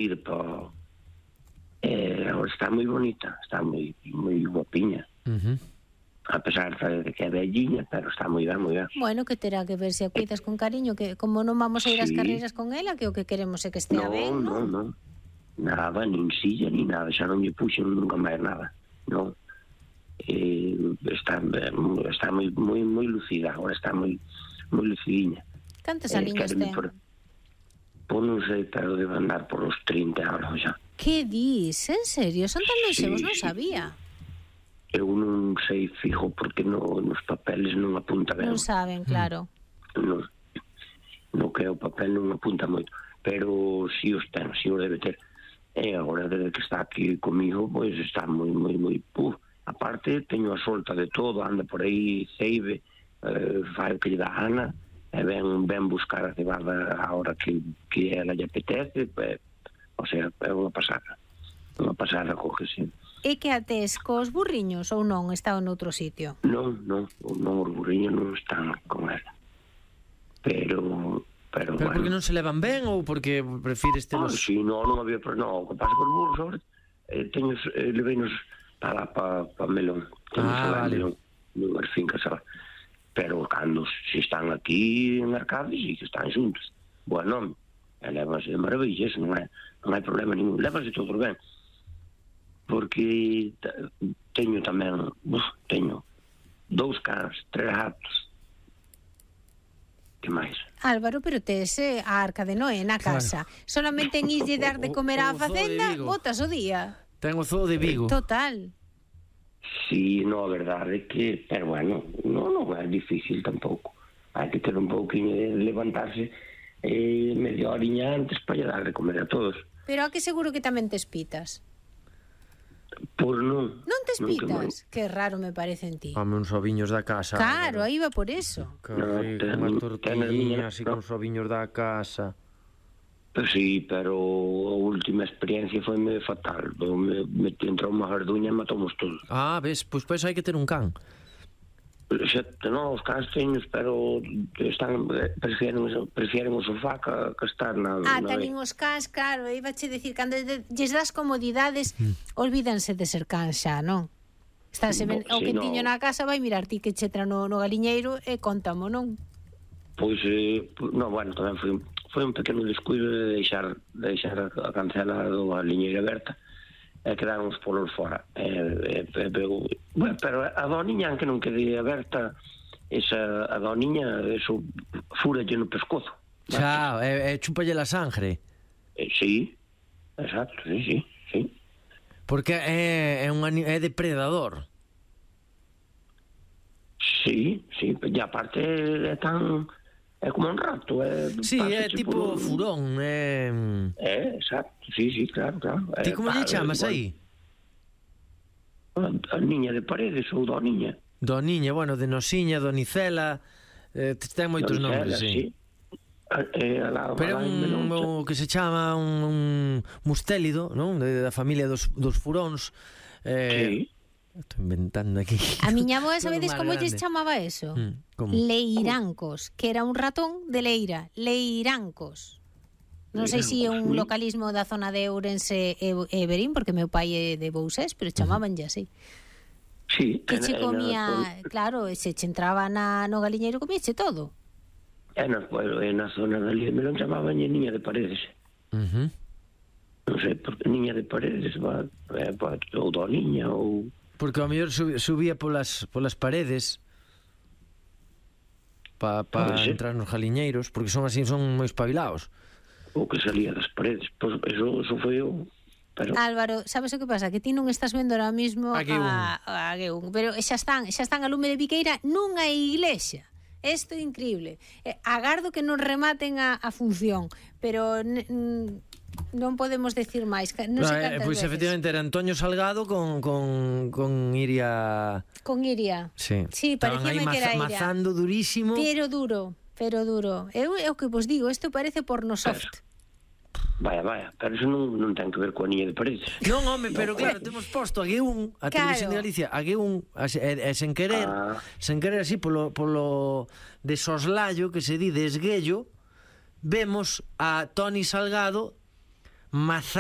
ir para... Agora está moi bonita, está moi guapiña. A pesar de que é velliña, pero está moi ben, moi ben. Bueno, que terá que ver se a cuidas con cariño, que como non vamos a ir ás carreiras con ela, que o que queremos é que estea ben, non? Non, nada, nin silla, nin nada, xa non lle puxen nunca máis nada, non. Está moi lucida, agora está moi lucidinha. Cantos aliños ten? Pois non sei, pero debe andar por os 30 ahora xa. Que dis? En serio? Son tan longevos? Non sabía. Eu non sei fijo porque nos papeles non apunta ben. Non saben, claro. No que o papel non apunta moito, pero si os ten, si os debe ter. E agora desde que está aquí comigo, pois está moi puf. Aparte, teño a solta de todo, anda por aí, ceibe, fai o que lle dá Ana, e ven buscar a cebada a hora que ela lle apetece, o sea, é unha pasada coge, E que ates cos burriños ou non? Estaba noutro sitio? Non, os burriños non están con ela. Pero bueno. Porque non se levan ben ou porque prefires telos... Si, non había problema. O que pasa cos burros sobre leveinos para Melón. Vale. Nunhas fincas, sabe? Pero cando se están aquí en Arcade, si que están xuntos. Bueno, levanse de maravilla, non hai problema ningún. Levanse todo ben. Porque teño tamén, teño 2 cans, 3 gatos. Que máis? Álvaro, pero tes a Arca de Noé na casa. Claro. Solamente en islle dar de comer á facenda, botas o día. Ten o zoo de Vigo. Total. Sí, a verdade é que, pero bueno, non é difícil tampouco. Hai que ter un pouquinho de levantarse media horiña antes para dar de comer a todos. Pero a que seguro que tamén tes pitas? Pois non. Non tes pitas? Que raro me parece en ti. Home, uns oviños da casa. Claro, aí va por eso. Que rico, unha tortillina así con os oviños da casa. Pois sí, pero a última experiencia foi fatal. Me entrou unha garduña e matamos todos. Ves, pois hai que ter un can. Non, os cans teños, pero prefieren o sofá que estar na... Teñen os cans, claro, iba che dicir, cando lles das comodidades, olvídanse de ser cans xa, non? Estáse ben, o que tiño na casa vai mirar ti que che tra no galiñeiro e contamo, non? Pois, bueno, tamén foi un pequeno descuido de deixar a cancela do galiñeiro aberta e quedaron os polos fora. Pero a doniña, que non quede aberta, a doniña, eso, fúralle no pescozo. Xa, chúpalle la sangre. Sí, exacto, sí. Porque é depredador. Sí, e aparte é tan... É como un rato. Sí, é tipo furón. Exacto, sí, claro. Ti como lle chamas aí? A niña de Paredes ou Doniña. Doniña, bueno, de Nosiña, Donicela, ten moitos nombres, sí. Pero un que se chama un mustélido, non? Da familia dos furóns. Sí. Estou inventando aquí. A miña avoa, sabedes como lles chamaba eso? Leirancos, que era un ratón de Leira. Leirancos. Non sei se é un localismo da zona de Ourense e Verín, porque meu pai é de Bousés, pero chamabanlle así. Sí. Que che comía, claro, se che entraba no galiñeiro, comíache todo. Na zona da Lía Melón chamabanlle Niña de Paredes. Non sei, porque Niña de Paredes ou Doniña ou... Porque ao mellor subía polas paredes para entrar nos galiñeiros, porque son así, son moi espabilados. O que salía das paredes, pois eso foi eu. Álvaro, sabes o que pasa? Que ti non estás vendo ahora mismo a Gueún, pero xa están a lume de biqueira nunha iglesia. Isto é increíble. Agardo que non rematen a función, pero non podemos decir máis. Non sei cantas pois veces. Efectivamente era Antonio Salgado con Iria. Con Iria. Sí, parecíame que era Iria. Mazando durísimo. Pero duro. É o que vos digo, isto parece pornosoft. Vaya, pero eso non ten que ver coa Niña de Paredes. Non, home, pero claro, temos posto a Gueún, a Televisión de Galicia, a Gueún, sen querer así, polo de soslayo que se di de esguello, vemos a Toni Salgado Mazá